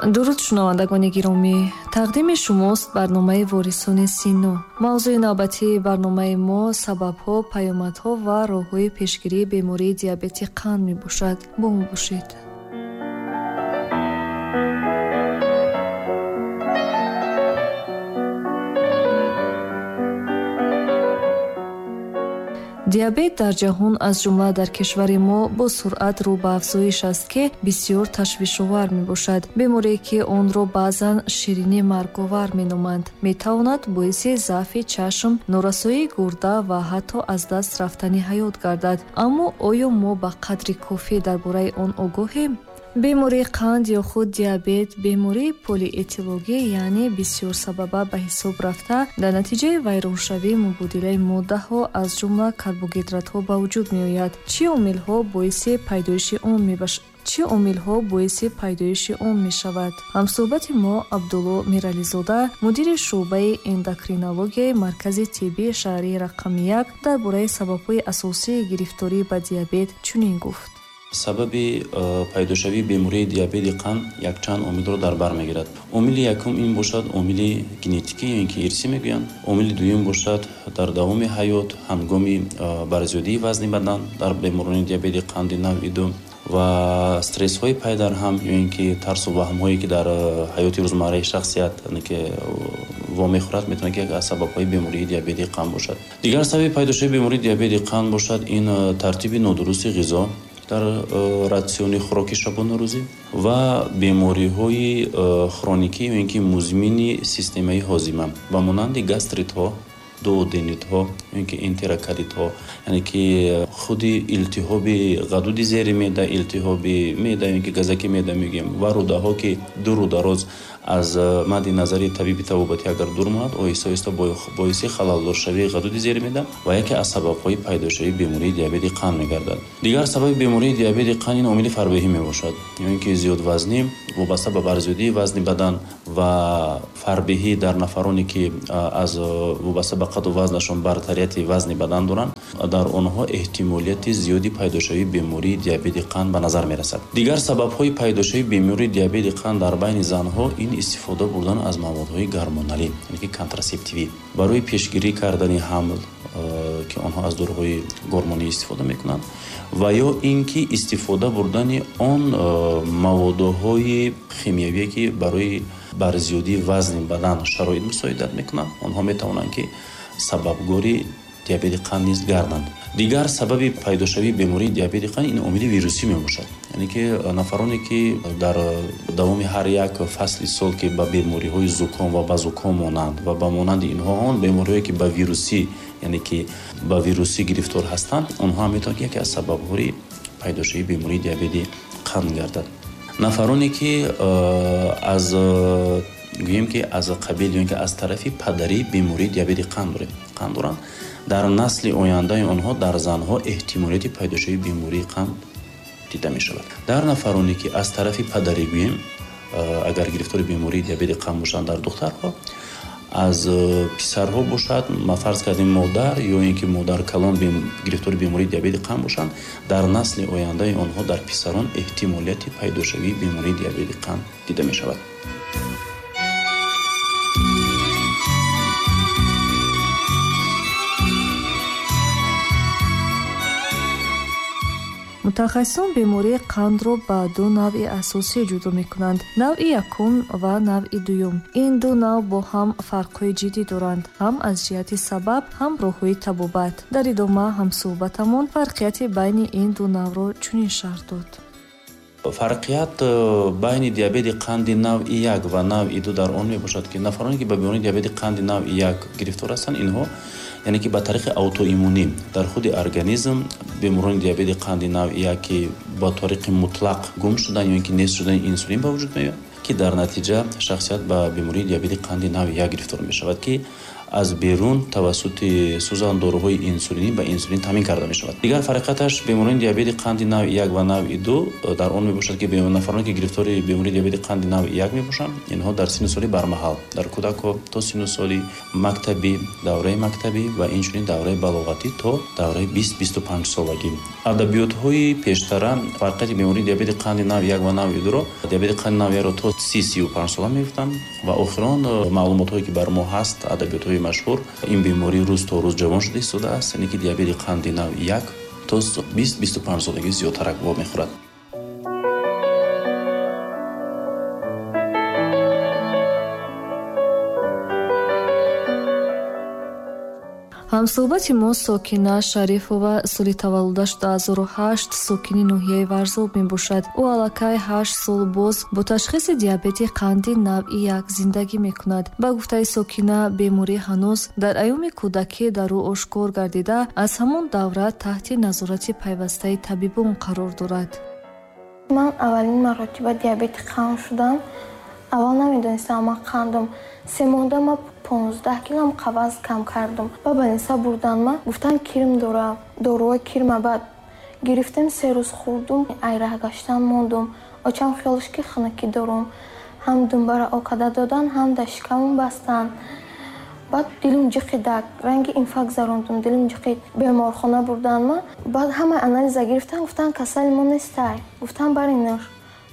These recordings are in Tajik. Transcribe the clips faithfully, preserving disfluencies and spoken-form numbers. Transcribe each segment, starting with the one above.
Дуруд, шунавандагони гиромӣ. Тақдими шумост барномаи Ворисони Сино. Мавзӯи навбатии барномаи мо сабабҳо, паёмадҳо ва роҳҳои пешгирии бемории диабети қанд мебошад. Бо мо бошед. Диабет дар ҷаҳон, аз ҷумла дар кишвари мо, бо суръат рӯ ба афзоиш аст, ки бисёр ташвишовар мебошад. Беморие ки онро баъзан ширини марговар меноманд, метавонад боиси заъфи чашм, норасоии гурда ва ҳатто аз даст рафтани ҳаёт гардад. Аммо оё мо ба қадри кофӣ дар бораи он огоҳем? Бемории қанд ё худ диабет бемории полиэтиологӣ, яъне бисёрсабаба ба ҳисоб рафта, дар натиҷаи вайроншавии мубодилаи моддаҳо, аз ҷумла карбогидратҳо ба вуҷуд меояд. Чӣ омилҳо боиси пайдоиши он мебошанд? Чӣ омилҳо боиси пайдоиши он мешавад? Ҳамсӯҳбати мо Абдулло Мирализода, мудири шӯъбаи эндокринологияи Маркази тиббии шаҳрии рақами як, дар бораи сабабҳои асосии гирифторӣ ба диабет чунин гуфт. Сабаби пайдошавии бемории диабети қанд якчанд омилро дар бар мегирад. Омили якум ин бошад омили генетикӣ ё ин ки ирсӣ мегӯянд. Омили дуюм бошад дар давоми ҳаёт ҳангоми барзиёдии вазни бадан дар беморони диабети қанди навъи ду ва стрессҳои пайдарҳам ё ин ки тарсу ваҳмҳое ки дар ҳаёти рӯзмарраи шахсият ки вомехӯрад, метавонад ки як аз сабабҳои бемории диабети қанд бошад. Дигар сабаби пайдошавии бемории диабети қанд бошад ин тартиби нодурусти ғизо дар ратсиони хӯроки шабонарӯзӣ ва бемориҳои хроникӣ ё ин ки музмини системаи ҳозима ба монанди гастритҳо, дуоденитҳо ё ин ки энтероколитҳо, яъне ки худи илтиҳоби ғадуди зери меъда, илтиҳоби меъда ё ин ки газаки меъда мегӯем ва рӯдаҳо, ки ду рӯдароз аз мадди назари табиби табобатӣ агар дур монад, оҳиста оҳиста боиси халалдоршавии ғадуди зери меъда ва яке аз сабабҳои пайдошавии бемории диабети қанд мегардад. Дигар сабаби бемории диабети қанд ин омили фарбеҳӣ мебошад, ё ин ки зиёдвазнӣ вобаста ба барзиёдии вазни бадан ва фарбеҳӣ дар нафароне ки аз вобаста ба қаду вазнашон бартарияти вазни бадан доранд, дар онҳо эҳтимолияти зиёди пайдошавии бемории диабети қанд ба назар мерасад. Дигар сабабҳои пайдошавии бемории диабети қанд дар байни занҳо ин истифода бурдан аз маводҳои гормоналӣ, яъне ки контрасептивӣ, барои пешгирӣ кардани ҳамл, ки онҳо аз доруҳои гормонӣ истифода мекунанд, ва ё ин ки истифода бурдани он маводҳои химиявие ки барои барзиёдии вазни бадан шароит мусоидат мекунанд, онҳо метавонанд ки сабабгори диабети қанд низ гарданд. Дигар сабаби пайдошавии бемории диабети қанд ин омили вирусӣ мебошад, яъне ки нафароне ки дар давоми ҳар як фасли сол ки ба бемориҳои зуком ва ба зуком монанд ва ба монанди инҳо он бемориҳое ки ба вирусӣ, яъне ки ба вирусӣ гирифтор ҳастанд, онҳо ҳам метавонанд ки яке аз сабабҳои пайдошавии бемории диабети қанд гардад. Нафароне ки аз гӯем ки аз қабил ё ин ки аз тарафи падарӣ бемории диабети қанд дорем, қанд доранд, дар насли ояндаи онҳо дар занҳо эҳтимолияти пайдошавии бемории қанд дида мешавад. Дар нафароне ки аз тарафи падарӣ гӯем, агар гирифтори бемории диабети қанд бошанд дар духтарҳо, аз писарҳо бошад, ма фарз кардем модар ё ин ки модар калон гирифтори бемории диабети қанд бошанд, дар насли ояндаи онҳо дар писарон эҳтимолияти пайдошавии бемории диабети қанд дида мешавад. Мутахассисон бемории қандро ба ду навъи асосӣ ҷудо мекунанд: навъи якум ва навъи дуюм. Ин ду навъ бо ҳам фарқҳои ҷиддӣ доранд, ҳам аз ҷиҳати сабаб, ҳам роҳҳои табобат. Дар идома ҳамсӯҳбатамон фарқияти байни ин ду навъро чунин шарҳ дод. Фарқият байни диабети қанди навъи як ва навъи ду дар он мебошад, ки нафароне ки ба бемории диабети қанди навъи як гирифтор ҳастанд, инҳо яъне ки ба тариқи аутоиммунӣ дар худи организм беморони диабети қанди навъи як ки ба тариқи мутлақ гум шудан ё ин ки нест шудани инсулин ба вуҷуд меояд, ки дар натиҷа шахсият ба бемории диабети қанди навъи як гирифтор мешавад, ки аз берун тавассути сӯзандоруҳои инсулинӣ ба инсулин таъмин карда мешавад. Дигар фарқияташ беморони диабети қанди навъи як ва навъи ду дар он мебошад, ки нафароне ки гирифтори бемории диабети қанди навъи як мебошанд, инҳо дар синну соли бармаҳал, дар кӯдакҳо то синну соли мактабӣ, давраи мактабӣ ва инчунин давраи балоғатӣ то давраи бист бисту панҷ солагӣ. Адабиётҳои пештара фарқияти бемории диабети қанди навъи як ва навъи дуро диабети қанди навъи якро то си сию панҷ сола мегуфтанд ва охирон маълумотҳое ки бар мо ҳаст, адабиётҳои машҳур, ин беморӣ рӯз то рӯз ҷавон шуда истодааст, яъне ки диабети қанди навъи як то бист бисту панҷ солагӣ зиёдтарак вомехӯрад. Ҳамсӯҳбати мо Сокина Шарифова соли таваллудаш ду ҳазору ҳашт сокини ноҳияи Варзоб мебошад. Ӯ аллакай ҳашт сол боз бо ташхиси диабети қанди навъи як зиндагӣ мекунад. Ба гуфтаи Сокина, беморӣ ҳанӯз дар айёми кӯдакӣ дар ӯ ошкор гардида, аз ҳамон давра таҳти назорати пайвастаи табибон қарор дорад. Ман аввалин маротиба диабети қанд шудам. Аввал намедонистам ман қандам. Се моҳда ман понздаҳ килом қаваз кам кардам. Ба больница бурдан ма, гуфтан кирм дорам, доруҳои кирма. Баъд гирифтем, се рӯз хӯрдум, ай раҳ гаштан мондум. Очам хиёлш ки хунукӣ дорум. Ҳам думбара окада додан, ҳам дар шикамум бастан. Баъд дилум ҷиқидак, ранги инфаркт зарондум, дилум ҷиқид. Беморхона бурдан ма. Баъд ҳамаи анализа гирифтан, гуфтан касали мо нестай. Гуфтан баринаш.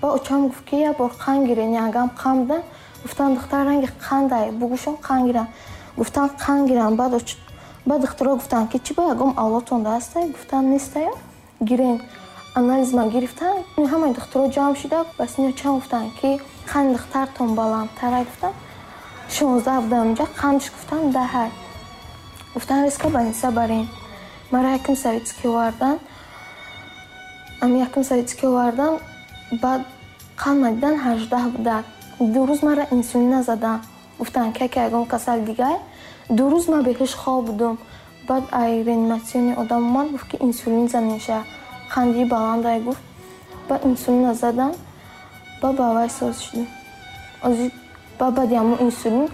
Ба очам гуфт ки як бор қанд гирен, ягам қанд будан. Гуфтан духтар ранги қандай, бугӯшон қанд гиран. Гуфтан қанд гиран. Баъд баъд духтаро гуфтан ки чӣ ба ягом авлодтон дастай? Гуфтан нестай, гирен. Анализ ма гирифтан, ҳамаи духтаро ҷамъ шуда, бас ин очам гуфтан ки қанди духтартон баландтар. Гуфтан шонздаҳ будам инҷа, қандш гуфтан даҳ. Гуфтан резко больница барин. Мара якум советский овардан. Ами якум советский овардан, баъд қанд ма дидан ҳаждаҳ буда. Ду рӯз мара инсулин назадан. Гуфтан ки яке ягон касал дигар. Ду рӯз ман беҳуш хоб будум. Баъд ай реаниматсиони одам омад, гуфт ки инсулин занеша. Қанди баландай гуфт. Баъд инсулин назадан, баъд ба вай соз шудем. Ози баъд баъди ҳамон инсулин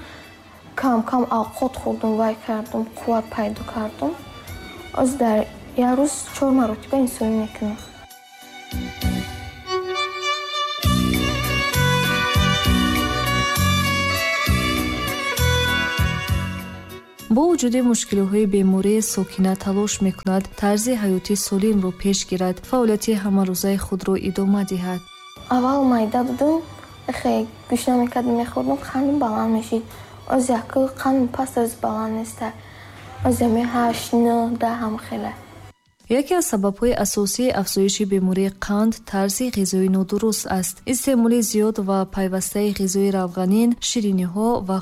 кам-кам авқот хӯрдум, вай кардум, қувват пайдо кардум. Оз дар як рӯз чор маротиба инсулин мекунам. Бо вуҷуди мушкилиҳои беморӣ, Сокина талош мекунад тарзи ҳаёти солимро пеш гирад, фаъолияти ҳамарӯзаи худро идома диҳад. Аввал майда будум, хе гӯш намекардам, мехӯрдум, қандам баланд мешид. Оз яку қандам паст, оз баланд неста. Оз ами ҳашт, нӯҳ, даҳ ҳам хеле. Яке аз сабабҳои асосии афзоиши бемории қанд тарзи ғизои нодуруст аст. Истеъмоли зиёд ва пайвастаи ғизои равғанин, шириниҳо ва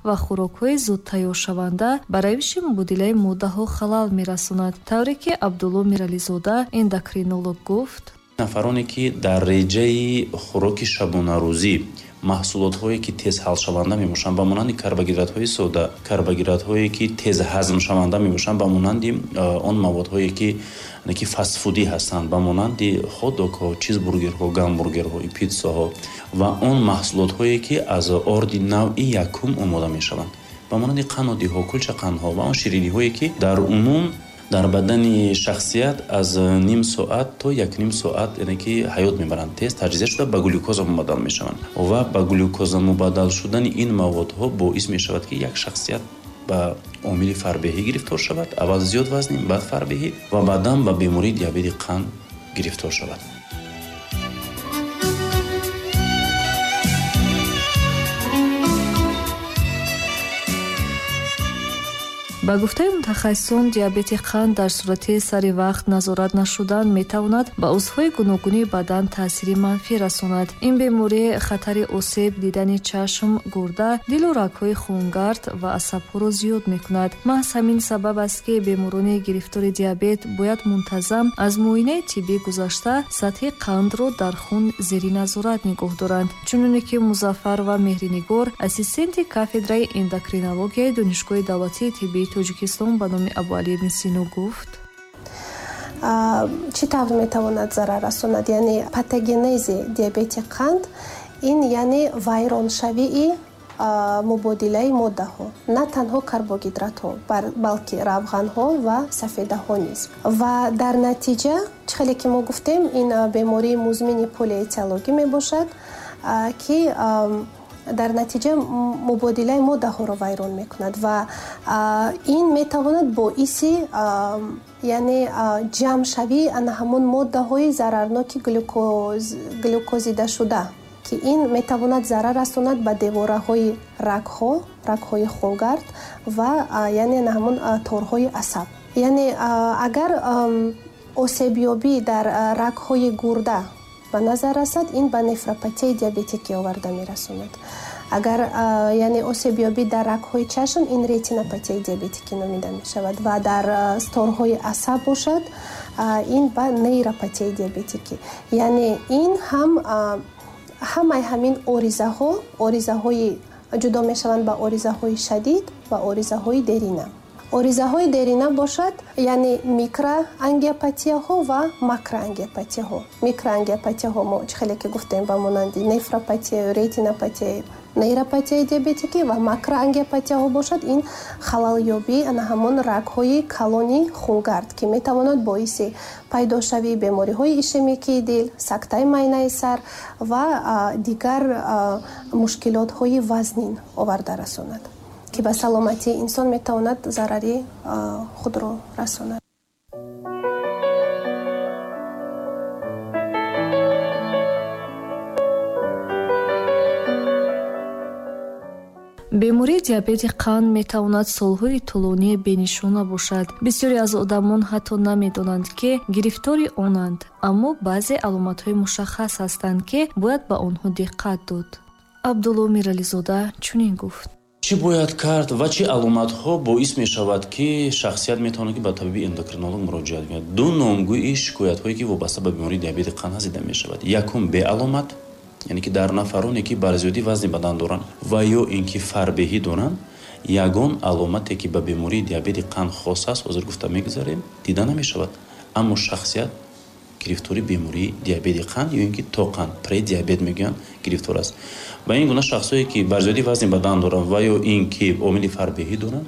ва хӯрокҳои зудтайёршаванда ба равиши мубодилаи моддаҳо халал мерасонад. Тавре ки Абдулло Мирализода, эндокринолог, гуфт: нафароне ки дар реҷаи хӯроки шабонарӯзӣ маҳсулотҳое ки тез ҳалшаванда мебошанд, ба монанди карбогидратҳои сода, карбогидратҳое ки тез ҳазмшаванда мебошанд, ба монанди он маводҳое ки ки фастфудӣ ҳастанд, ба монанди хот-догҳо, чизбургерҳо, гамбургерҳо, питсаҳо ва он маҳсулотҳое ки аз орди навъи якум омода мешаванд, ба монанди қаннодиҳо, кулчақандҳо ва он шириниҳое ки дар умум дар бадани шахсият аз ним соат то як ним соат яъне ки ҳаёт мебаранд, тез таҷзия шуда ба глюкоза мубаддал мешаванд ва ба глюкоза мубаддал шудани ин маводҳо боис мешавад ки як шахсият ба омили фарбеҳӣ гирифтор шавад, аввал зиёд вазнӣ, баъд фарбеҳӣ ва баъдан ба бемории диабети қанд гирифтор шавад. Ба гуфтаи мутахассисон, диабети қанд дар сурати сари вақт назорат нашудан метавонад ба узвҳои гуногуни бадан таъсири манфӣ расонад. Ин беморӣ хатари осеб дидани чашм, гурда, дилу рагҳои хунгард ва асабҳоро зиёд мекунад. Маҳз ҳамин сабаб аст, ки беморони гирифтори диабет бояд мунтазам аз муоинаи тиббӣ гузашта сатҳи қандро дар хун зери назорат нигоҳ доранд. Чуноне ки Музаффар ва Меҳринигор, ассистенти кафедраи эндокринологияи Донишгоҳи давлатии тиббии Тоҷикистон ба номи Абуалӣ ибни Сино гуфт: чӣ тавр метавонад зарар расонад? Яъне патогенези диабети қанд ин яъне вайроншавии мубодилаи моддаҳо, на танҳо карбогидратҳо, балки равғанҳо ва сафедаҳо низ. Ва дар натиҷа, чӣ хеле ки мо гуфтем, ин бемории музмини полиэтиологӣ мебошад, ки дар натиҷа мубодилаи моддаҳоро вайрон мекунад ва ин метавонад боиси яъне ҷамъшавии ана ҳамон моддаҳои зарарноки глюкозидашуда, ки ин метавонад зарар расонад ба девораҳои рагҳо, рагҳои хунгард ва яъне ана ҳамон торҳои асаб. Яъне агар осебёбӣ дар рагҳои гурда ба назар расад, ин ба нефропатияи диабетикӣ оварда мерасонад. Агар яъне осебёбӣ дар рагҳои чашм, ин ретинопатияи диабетикӣ номида мешавад ва дар торҳои асаб бошад, ин ба нейропатияи диабетикӣ. Яъне ин ҳам ҳамаи ҳамин оризаҳо, оризаҳои ҷудо мешаванд ба оризаҳои шадид ва оризаҳои дерина. Оризаҳои дерина бошад, яъне микроангиопатияҳо ва макроангиопатияҳо. Микроангиопатияҳо мо чӣ хеле ки гуфтем ба монанди нефропатия, ретинопатия, нейропатияи диабетикӣ ва макроангиопатияҳо бошад, ин халалёбии ана ҳамон рагҳои калони хунгард, ки метавонад боиси пайдошавии бемориҳои ишемикии дил, сактаи майнаи сар ва дигар мушкилотҳои вазнин оварда расонад, ки ба саломатии инсон метавонад зарари худро расонад. Бемории диабети қанд метавонад солҳои тӯлонӣ бенишона бошад. Бисёре аз одамон ҳатто намедонанд, ки гирифтори онанд, аммо баъзе аломатҳои мушаххас ҳастанд, ки бояд ба онҳо диққат дод. Абдулло Мирализода чунин гуфт. Чӣ бояд кард ва чӣ аломатҳо боис мешавад, ки шахсият метавонад ки ба табиби эндокринолог муроҷиат кунад? Ду номгӯи шикоятҳое ки вобаста ба бемории диабети қанд ҳаст дида мешавад. Якум, беаломат, яъне ки дар нафароне ки бар зиёдӣ вазни бадан доранд ва ё ин ки фарбеҳӣ доранд, ягон аломате ки ба бемории диабети қанд хос аст, ҳозир гуфта мегузарем, дида намешавад. Аммо шахсият гирифтори бемории диабети қанд ё ин ки тоқанд, предиабет мегӯянд, гирифтор аст. Ба ин гуна шахсое ки бар зиёдӣ вазни бадан доранд ва ё ин ки омили фарбеҳӣ доранд,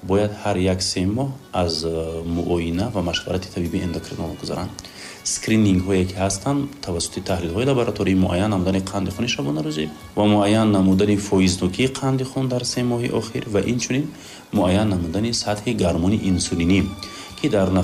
бояд ҳар як се моҳ аз муоина ва машварати табиби эндокринолог гузаранд. Скринингҳое ки ҳастанд тавассути таҳлилҳои лаборатории муайян намудани қанди хуни шабонарӯзӣ ва муайян намудани фоизнокии қанди хун дар се моҳи охир ва инчунин муайян намудани сатҳи гармони инсулинӣ, ки дар